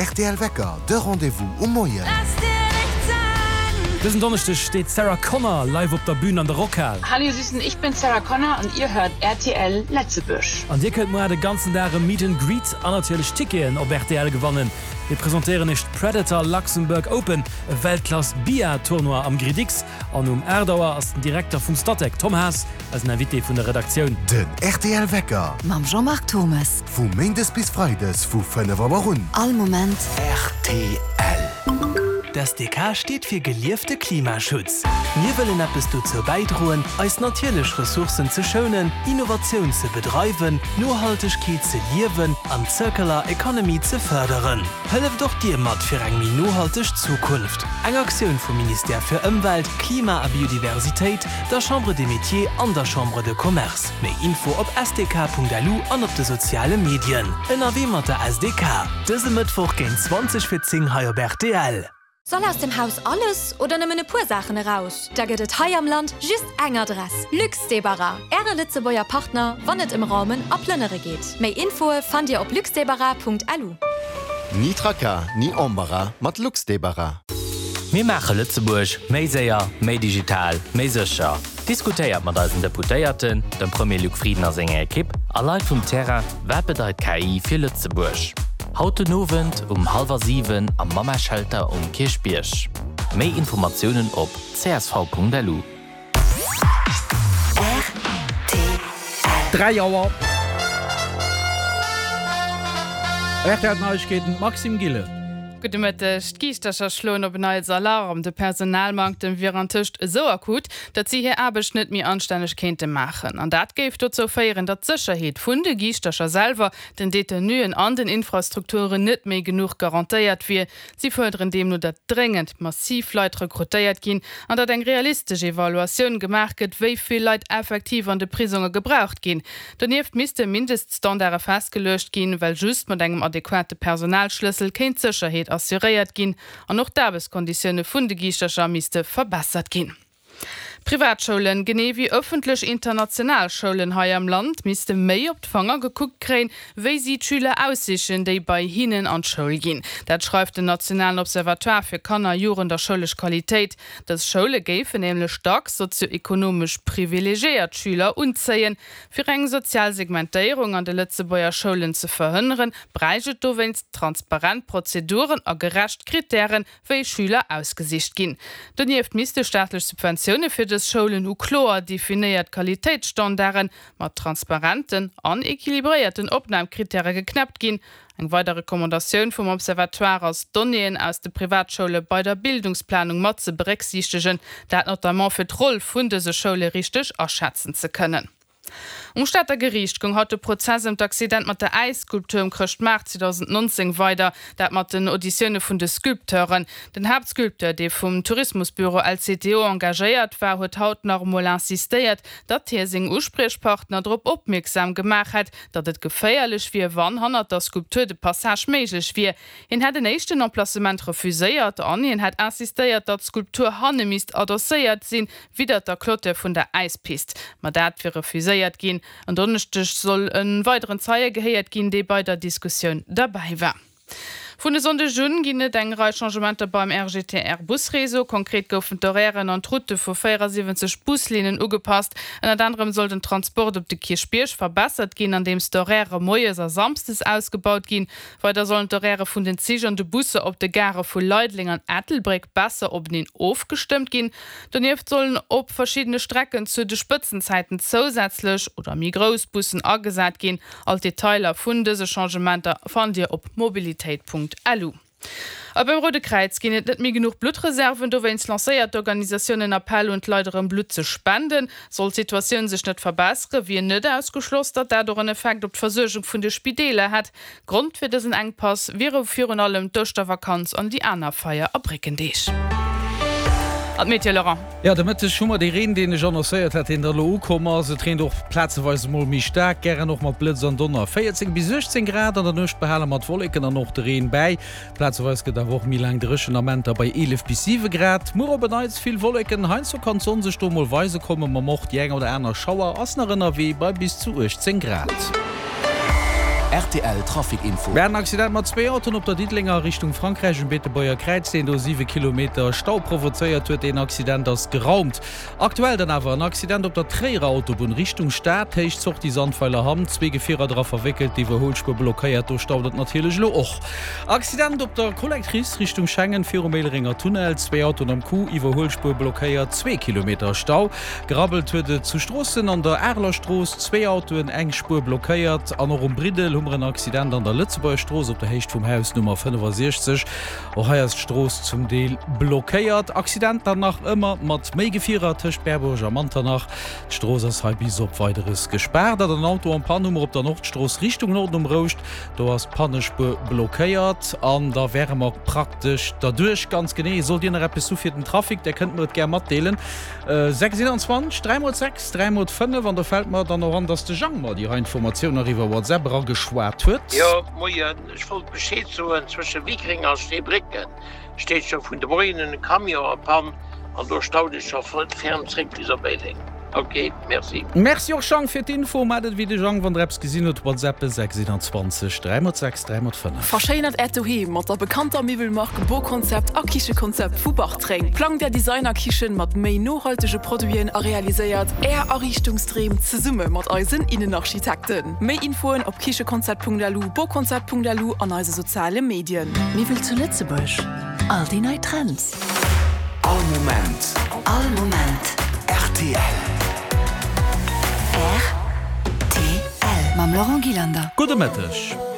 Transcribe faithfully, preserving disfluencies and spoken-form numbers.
rtl Wecker, de Rendez-vous um Moien. Dësen Donneschdeg steet d'Sarah Connor live op der Bün an der Rockhal. Hallo ihr Süßen, ich bin Sarah Connor und ihr hört rtl Lëtzebuerg. An dir kënnt muer de ganzen Dag e Meet and Greet an natierlech Ticketen op rtl gewannen. Mir presentéieren iech d'Predator Luxembourg Open, e Weltklass Billard-Tournoi am Gridix. An um aacht Auer ass den Direkter vum Statec, Tom Haas, eisen Invité vun der Redaktioun. Den rtl Wecker. Mam Jean-Marc Thommes. Vu Méindes bis Freides vu fënnef Auer un. All Moment. Rtl. D'SDK steet fir geliefte Klimaschutz. Mir wëllen eppes dozou bäidroen, eis natierlech Ressourcen ze schounen, Innovatioun ze bedreiwen, Nohaltegkeet ze liewen an d'Circular Economy ze fërderen. Hëlleft och Dir mat fir eng méi nohalteg Zukunft. Eng Aktioun vum Ministère fir Ëmwelt, Klima a Biodiversitéit, der Chambre des Métiers an der Chambre de Commerce. Méi Info op sdk.lu an op de soziale Medien. Ënnerwee mat der S D K. Dëse Mëttwoch géint zwanzeg fir zéng hei op rtl. Soll aus dem Haus alles oder nëmmen e puer Saachen eraus? Da gëtt et hei am Land just eng Adress. Luxdébarras, Äre Lëtzebuerger Partner, wann et ëm Raumen a Plënnere geet. Méi Infoe fannt Dir op luxdébarras Punkt L U. Ni Tracas, ni Embarras mat Luxdébarras. Mir maache Lëtzebuerg méi séier, méi digital, méi sécher. Diskutéiert mat eisen Deputéierten, dem Premier Luc Frieden a senger Ekipp a Leit vum Terrain, wat bedeit K I fir Lëtzebuerg? Haut den Owend um hallwer siwen am Mamma-Shelter um Kierchbierg. Méi Informatiounen op C S V Punkt L U. Dräi Auer. R T L Neiegkeeten, Maxime Gillen. Gudde Mëtteg. D'Giischtercher schloen op en Neits Alarm. De Personalmanktem wier antëscht esou akut, datt si hir Aarbecht net méi anstänneg kéinte maachen. An dat géif dozou féieren, datt d'Sécherheet vun de Giischtercher selwer, den Detenuen an den Infrastrukturen net méi genuch garantéiert wier. Si fuerderen deemno, datt dréngend massiv Leit rekrutéiert ginn an datt eng realistesch Evaluatioun gemaach gëtt, wéi vill Leit effektiv an de Prisonge gebraucht ginn. Donieft misste Mindeststandarde festgeluecht ginn, well just mat engem adequate Personalschlëssel kéint d'Sécherheet assuréiert ginn an och d'Aarbechtskonditioune vun de Giischtercher misste verbessert ginn. Privatschoulen, genee wéi ëffentlech international Schoulen hei am Land, misste méi op d'Fanger gekuckt kréien, wéi si d'Schüler aussichen, déi bei hinnen an d'Schoul ginn. Dat schreift den Nationalen Observatoire fir Kanner-, Jugend a schoulesch Qualitéit. Dës Schoule géifen nämlech dacks sozio-ekonomesch privilegiéiert Schüler unzéien. Fir eng sozial Segmentéierung an de Lëtzebuerger Schoulen ze verhënneren, bräicht et dowéinst transparent Prozeduren a gerecht Krittären, wéi Schüler ausgesicht ginn. Donieft misste staatlech Subventioune fir dës Schoulen u kloer definéiert Qualitéitsstandarde mat transparenten an equilibréierten Opnamkrittäre geknäppt ginn. Eng weider Recommandatioun vum Observatoire ass, d'Donnéeën aus de Privatschoule bei der Bildungsplanung mat ze berécksiichtegen, dat notamment fir d'Roll vun dëse Schoule richteg aschätzen ze kënnen. Um Stater Geriicht goung haut de Prozess ëm d'Accident mat der Äisskulptur um Chrëschtmaart zweedausendnonzéng weider, dat mat den Auditioune vun de Sculpteuren. Den Haaptsculpteur, dee vum Tourismusbüro L C T O engagéiert war, huet haut nach emol insistéiert, datt hie seng Uspriechpartner drop opmierksam gemaach hätt, datt et geféierlech wier, wann hannert der Skulptur de Passage méiglech wier. Hien hätt en éischten Emplacement refuséiert an hien hätt insistéiert, datt d'Skulptur hanne misst adosséiert sinn, widder der Clôture vun der Äispist. Ma dat wier refuséiert ginn. En Donneschdeg soll e weideren Zeie gehéiert ginn, dee bei der Diskussioun derbäi war. Vun e Sonndeg un ginn et eng Rei Changementer beim R G T R-Busreseau. Konkret goufen d'Horairen an d'Routte vu véierasiwwenzeg Buslinnen ugepasst. Ënnert anerem soll den Transport op de Kierchbierg verbessert ginn, andeems d'Horairë moies a samsdes ausgebaut ginn. Weider sollen d'Horairë vun den Zich an de Busser op de Garë vu Leideleng an Ettelbréck besser openeen ofgestëmmt ginn. Donieft sollen op verschiddene Strecken zu de Spëtzenzäiten zousätzlech oder méi grouss Bussen agesat ginn. All d'Detailer vun dëse Changementer fannt Dir op mobilitéit Punkt L U. A beim Roude Kräiz ginn et net méi genuch Bluttreserven, dowéinst lancéiert d'Organisatioun en Appell un d'Leit erëm Blutt ze spenden. Sollt d'Situatioun sech net verbessere wier net ausgeschloss, datt dat och en Effekt op d'Versuergung vun de Spideeler hätt. Grond fir dësen Enkpass wiere virun allem d'Ouschtervakanz an déi aner Feier a Bréckendeeg. An d'Meteo, Laurent. Jo, de Mëtteg hu mer dee Reen, deen ech annoncéiert hat, deen da lo ukomm ass. Et reent och plazeweis emol méi staark, gären och mat Blëtz an Donner. véierzéng bis uechtzéng Grad an der Nuecht behale mer d'Wolleken an och de Reen bäi. Plazeweis gëtt awer och méi laang dréchen, Amenter bei eelef bis siwe Grad. Muer op en Neits vill Wolleken, heiansdo kann d'Sonn sech do mol weise kommen, ma och déi eng oder aner Schauer ass nach ënnerwee bei bis zu uechtzéng Grad. Rtl Trafic Info. Mir haten en Accident mat zwee Autoen op der Diddelenger a Richtung Frankräich um Beetebuerger Kräiz, deen do siwe Kilometer Stau provozéiert huet. Deen Accident ass geraumt. Aktuell dann awer en Accident op der Tréierer Autobunn Richtung Stad, Héicht Sortie Sandweiler Hamm, zwee Gefierer dra verwéckelt, d'Iwwerhuelspuer blockéiert, do staut et natierlech elo och. Accident op der Collectrice Richtung Schengen virum Éilerenger Tunnel, zwee Autoen am Coup, Iwwerhuelspuer blockéiert, zwee Kilometer Stau. Gerabbelt huet et zu Stroossen an der Areler Strooss, zwee Autoen, eng Spuer blockéiert. An och um Briddel hu mer en Accident an der Lëtzebuerger Strooss op der Héicht vum Haus Nummer fënnefasiechzeg. Och hei ass d'Strooss zum Deel blockéiert. Accident dann nach ëmmer mat méi Gefierer tëscht Berbuerg a Manternach. D'Strooss ass hei bis op Weideres gespaart. An en Auto en panne hu mer op der Nordstrooss Richtung Norden um Rouscht. Do ass d'Pannespuer blockéiert an da wäre mer praktesch derduerch. Ganz genee. Sollt Dir nach eppes hu fir den Trafic, där kënnt mer et gär matdeelen. Sechs eenanzwanzeg, dräi mol sechs, dräi mol fënnef. An do fält mer dann och an, dass de Jang mer déi hei Informatioun nach iwwer WhatsApp erageschwat huet. Jo, moien. Ech wollt Bescheed soen, zwësche Wickreng a Steebrécken steet scho vun de Moien un e Camion a Pann an do staut et scho ferm zréck bis op Éileng. Ok, merci. Merci och Jang fir d'Info. Maacht et wéi de Jang, wann der eppes gesinn hutt, WhatsApp sechs eenanzwanzeg, dräi mol sechs, dräi mol fënnef. Verschéinert Äert Doheem mat der bekannter Miwwelmark Boconcept a Kichekonzept vu Bartreng. Plangt Är Designerkichen mat méi nohaltege Produiten a realiséiert Är Ariichtungsdreem zesumme mat eisen Innenarchitekten. Méi Infoen op kichekonzept.lu, boconcept.lu an eise soziale Medien. Miwwel zu Lëtzebuerg, all déi nei Trends. All Moment. All Moment. Rtl. Rtl. Mam Laurent Gillander. Gudde Mëtteg.